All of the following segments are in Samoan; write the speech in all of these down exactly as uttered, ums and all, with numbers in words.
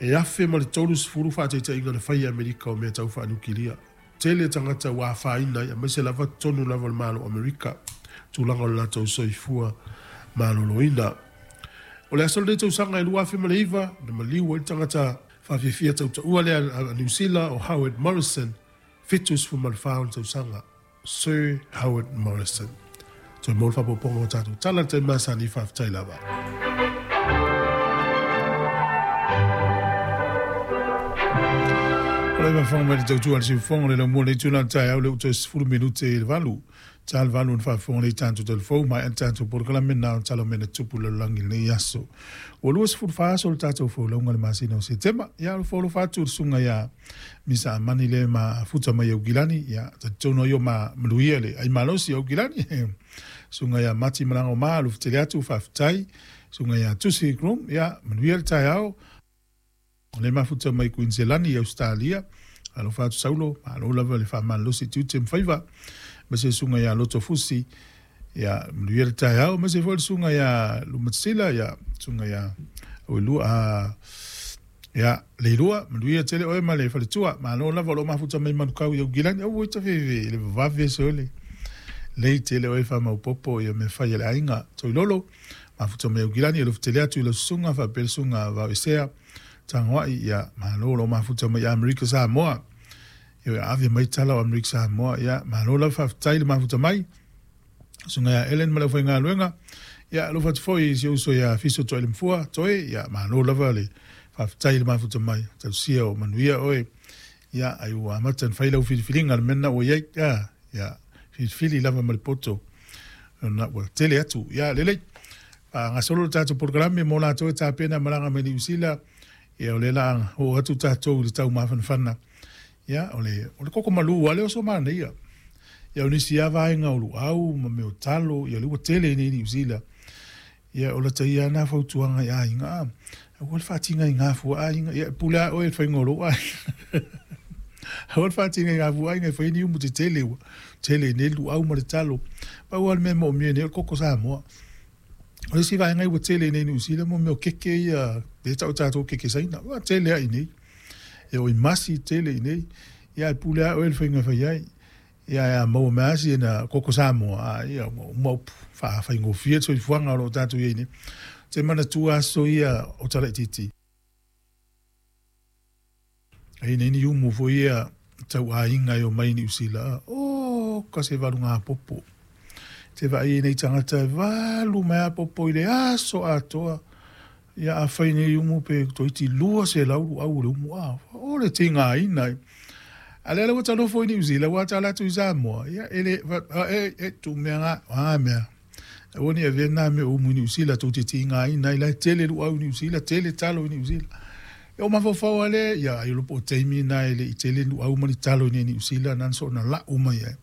E afe ma le tolu sefulu faataitaiga na faia e Amerika o mea tau faaniukilia. Tele tagata ua afaina ai, aemaise lava totonu lava o le Malo o Amerika, tulaga o le latou soifua maloloina. O le aso lenei tausaga e lua afe ma le iva, na maliu ai le tagata faafiafia tautaua lea a Niu Sila o Howard Morrison, fitu sefulu ma le fa ona tausaga. Sir Howard Morrison. Toe maua le faaopoopoga o tatou tala i le taimi masani, faafetai lava. O le faafofoga mai le tautua a le siufofoga le laumua le itula o le taeao le uta sefulu minute i le valu. Ta le valu na faafofoga le tatou telefou mai a tatou polokalame na o tala mena tupu le lalolagi i lenei aso. Ua lua sefulu fa aso le tatou folauga le masina o Setema. Ia o le folo fatu le susuga ia Misa Amani le ma futa mai Aukilani. Ia talitonu ai o ma maluia le ai malosi Aukilani. Susuga ia Mati Malaga o Ma lufetele atu faafetai. Susuga ia Tusi Groom. Ia manuia le taeao. Le mafuta mai Queensland i Australia. Alofa atu Saulo, malo lava le faamalolosi tiute ma faiva. Ma se susuga ia Loto Fusi, ia manuia le taeao. Ma se foi le susuga ia Lumatsila, ia susuga ia Oilua, a ia Leilua, manuia tele oe ma le faletua. Malo lava o lo mafuta mai Manukau i Aukilani. Au ita fefe, le vavave sole. Lei tele oe faamaupopo ia me fai le aiga. Toilolo, mafuta mai Aukilani, alofa atu i le susuga, faapea le susuga Vao Esea. Tangoai, ia malo lo mafuta mai Amerika Samoa. Ia ave mai tala o Amerika Samoa, ia malo lava faafetai le mafuta mai. Susuga ia Ellen ma le aufaigaluega. Ia alofa atu foi i si uso ia Fiso Toa i le Mafua, Toe, ia malo lava le faafetai le mafuta mai. Tausia o manuia oe. Ia ai ua amata na fai lau filifiliga le mea ua iai. Ia, ia filifili lava ma le poto. Na ua tele atu. Ia lelei. Gasolo le tatou polokalame mo latou e tapena malaga mai Niu Sila. Ia o le la o atu tatou i le tau mafanafana. Ia o le o le koko malu ale o so manaia. Ia o nisi a vaega o luau ma mea o talo, ia le ua tele nei Niu Sila. Ia o la taia na fautuaga i aiga. Aua le faatiga i ngā fua aiga. Ia pule a oe le faiga o lou aiga. Aua le faatiga i ngā fua aiga e fai ni umu te tele ua. Tele nei luau ma le talo. Pau a le mea moomia nei o le koko Samoa. O le isi vaega ua tele nei Niu Sila mo mea o keke ia, le tau tatou keke saina. Ua tele ai nei. Ia o i masi tele i nei. Ia e pule a oe le faiga fai ai. Ia a maua mea asi na koko Samoa. Ia uma upu faafaigofie le soifuaga o loo tatou iai nei. Te manatua aso ia o Talaitiiti. Ai nei ni umu foi ia tau aiga e o mai Niu Sila. O ka se valu ngā popo. Te vaai nei tangata e valu mai a popo i le aso atoa. Ia a whai nei umu pe toiti lua se lauru au le umu a. O le tinga ina. A le ua talofo i Niu Sila, ua talatu i Samoa. Ia ele, e, e, tu mea ngā, a mea. Ua ni e nā me umu i Niu Sila, tau te tinga ina, i lai tele lu au i Niu Sila, tele talo i Niu Sila. E o mafofau ale, ia ai lopo o teimi nā ele i tele lu au mani talo i Niu Sila, nā so na la uma ia.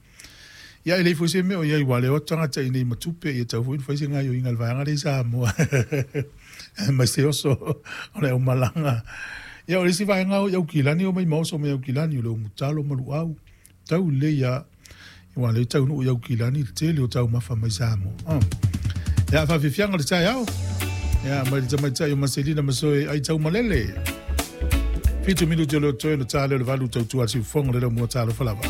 Ia ele foi se mea o ia i wale o tangata i nei matupe, ia tau foi foi se ngai o inga le vaega le i Samoa. Mai se oso o le aumalanga. Ia o le isi vaega o Aukilani o mai maoso mai Aukilani o le umutalo ma luau. Tau le ia, ia le tau nuu i Aukilani le tele o tau mafa mai Samoa. Oh. Ia whawhiwhianga le taeao. Ia mai le tamaitai o Maselina Masoe ai tau malele. Fitu minuti o le toe na tā leo le valu tautua siufofoga le lau mua talo falava.